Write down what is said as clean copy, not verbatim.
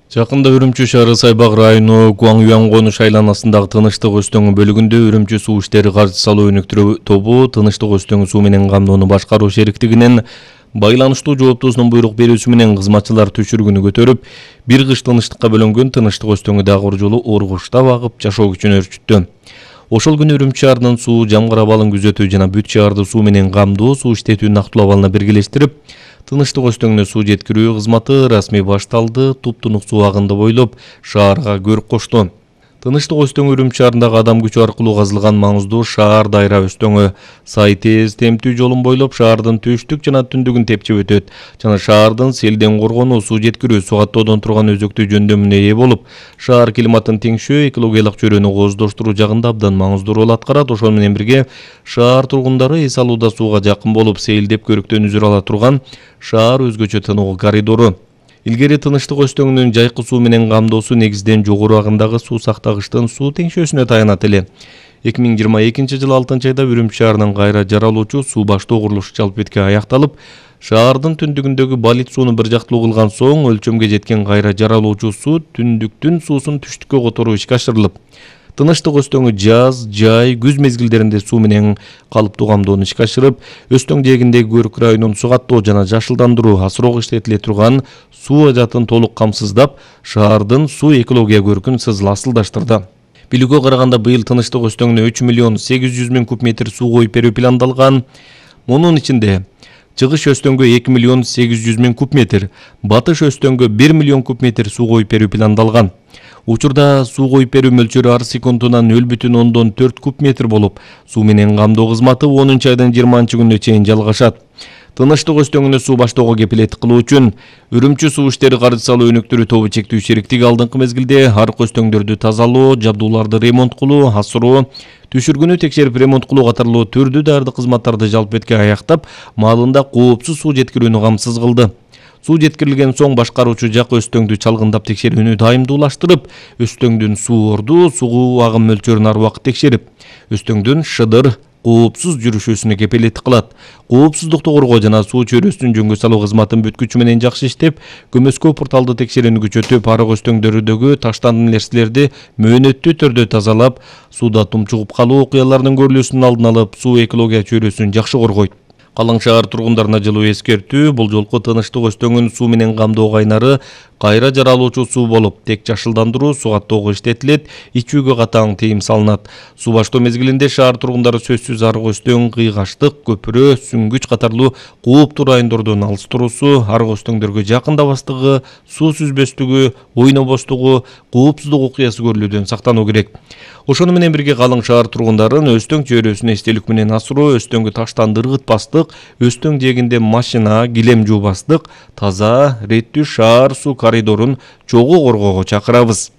Жакында Үрүмчү шаары Сайбак району Гуаңюан конуш айланасындагы Тыныштык Өзтөңү бөлүгүндө Үрүмчү суу иштери каржы салуу өнүктүрүү тобу Тыныштык Өзтөңү суу менен камдоону башкаруу шериктигинин байланыштуу жооптуусунун буйрук берүүсү менен кызматчылар түшүргүнү көтөрүп, бир кыш тынчтыкка бөлөнгөн Тыныштык Өзтөңү дагы бир жолу ургуштап агып жашоо күчүн өрчүттү. Ошол күнү Үрүмчү шаарынын суу жамгыр абалын күзөтүү жана бүт шаарды суу менен камдоо суу иштетүүнүн актылуу абалына биргелештирип, Тыныштык Өзтөңүнө суу жеткирүү кызматы расмий башталды. Туп-тунук суу агынды бойлоп шаарга көрүк кошту. Тыныштык Өзтөңү Үрүмчү шаарындагы адам күчү аркылуу казылган маңыздуу шаар дайра Өзтөңү Сай-Тез темтүү жолун бойлоп шаардын түштүк жана түндүгүн тепчип өтөт жана шаардын селден коргонуу, суу жеткирүү, суу каттоодон турган өзөктүү жөндөмүнө ээ болуп, шаар климатын теңшөө, экологиялык чөйрөнү кооздоштуруу жагында абдан маңыздуу роль аткарат. Ошол менен бирге шаар тургундары эс алууда сууга жакын болуп, сейилдеп көрүктөн үзүр ала турган шаар өзгөчө тынуу коридору. Илгери Тыныштык Өзтөңүнүн жайкы суу менен камдоосу негизден жогору агымдагы суу сактагычтын суу теңшөөсүнө таянат эле. 2022 жылы 6-айда Үрүмчү шаарынын кайра жаралуучу суу баштоо курулушу жалпы бетке аякталып, шаардын түндүгүндөгү балит сууну бир жактылуу кылган соң өлчөмгө жеткен кайра жаралуучу суу түндүктүн суусун түштүккө которуу ишке ашырылып, Тыныштык Өзтөңү жаз, жай, күз мезгилдеринде суу менен калыптуу камдоону ишке ашырып, Өзтөң жээгиндеги Көрүк районун суу каттоо жана жашылдандыруу асыроого иштетиле турган суу ажатын толук камсыздап, шаардын суу экология көркүн асылдаштырды. Билүүгө караганда, быйыл Тыныштык Өзтөңүнө 3 миллион 800 миң куб метр суу коюп берүү пландалган. Мунун ичинде Чыгыш Өзтөңгө 2 миллион 800 миң куб метр, Батыш Өзтөңгө 1 миллион куб метр суу коюп берүү пландалган. Учурда суу коюп берүү мөлчөрү ар секундунан 0,4 куб метр болуп, суу менен камдоо кызматы 10-айдын 20-күнүнө чейин жалгашат. Тыныштык Өзтөңүнө суу баштоого кепилеттик кылуу үчүн Үрүмчү суу иштери каржы салуу өнүктүрүү тобу чектүү шериктиги алдыңкы мезгилде арык Өзтөңдөрдү тазалоо, жабдууларды ремонт кылуу, асыроо, түшүргүнү текшерип ремонт кылуу катарлуу түрдүү дардык кызматтарды жалпы бетке аяктап, маалында коопсуз суу жеткирүүнү камсыз кылды. Суу жеткирилген соң башкаруучу жак Өзтөңдү чалгындап текшерүүнү дайымдуулаштырып, Өзтөңдүн суу орду, суу агым мөлчөрүн ар убакыт текшерип, Өзтөңдүн шыдыр, коопсуз жүрүшүнө кепилеттик кылат. Коопсуздукту коргоо жана суу чөйрөсүнүн жөнгө салуу кызматын бүт күчү менен жакшы иштеп, көмөскө порталды текшерүүнү күчөтүп, арык Өзтөңдөрдөгү таштан нерселерди мөөнөттүү түрдө тазалап, сууда тумчугуп калуу окуяларынын көрүлүүсүнүн алдын алып, суу экология чөйрөсүн жакшы коргойт. Калың шаар тургундарына жылуу эскертүү: бул жолку Тыныштык Өзтөңүн суу менен камдоо кайнары кайра жаралуучу суу болуп, тек жашылдандыруу, суу каттоого иштетилет, ичүүгө катаң тыйым салынат. Суу баштоо мезгилинде шаар тургундары сөзсүз арык Өзтөң, Кыйгаштык, Көпүрө, Сүңгүч катарлуу кооптуу райондордон алыс туруусу, арык Өзтөңдөргө жакындабастыгы, суу сүзбөстүгү, ойнобостугу, коопсуздук окуясы көрүлүүдөн сактануу керек. Ошону менен бирге калың шаар тургундарын Өзтөң чөйрөсүнө эстелик менен асыроо, Өзтөңгү таштан ыргытпастык, Өзтөң жээгинде машина, килем жуубастык, таза, реттүү шаар суу коридорун чогуу коргоого чакырабыз.